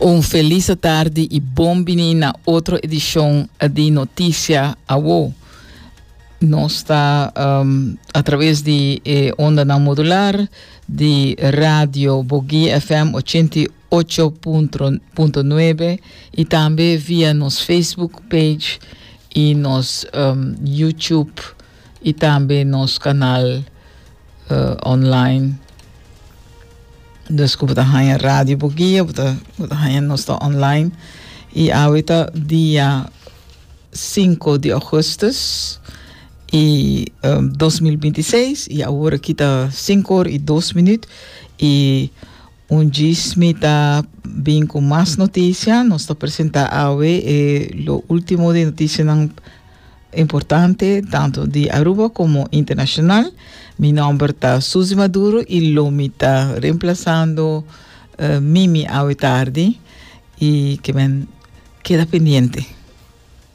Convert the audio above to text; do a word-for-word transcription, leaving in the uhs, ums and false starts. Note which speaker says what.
Speaker 1: Un felis tardi i bon bini na otro edishon di Notisia Awo. Nos ta um, atraves di eh, onda modular di Radio Boguia F M ochenta i ocho punto nuebe i tambe via nos Facebook page i nos um, YouTube i tambe nos kanal uh, online. Dus ku bo haña Radio Boguia, bo haña nos ta online. I awe ta dia sinku di ougùstùs i um, dos mil bintiseis i awor aki ta sinku or i dos minüt i un djis mi ta bin ku mas notisia. Nos ta presentá awe eh, lo último di notisia importante, tantu di Aruba komo internashonal. Mi nòmber ta Suzy Maduro i lo mi ta remplasando uh, Mimi awe tardi i ke men keda pendiente.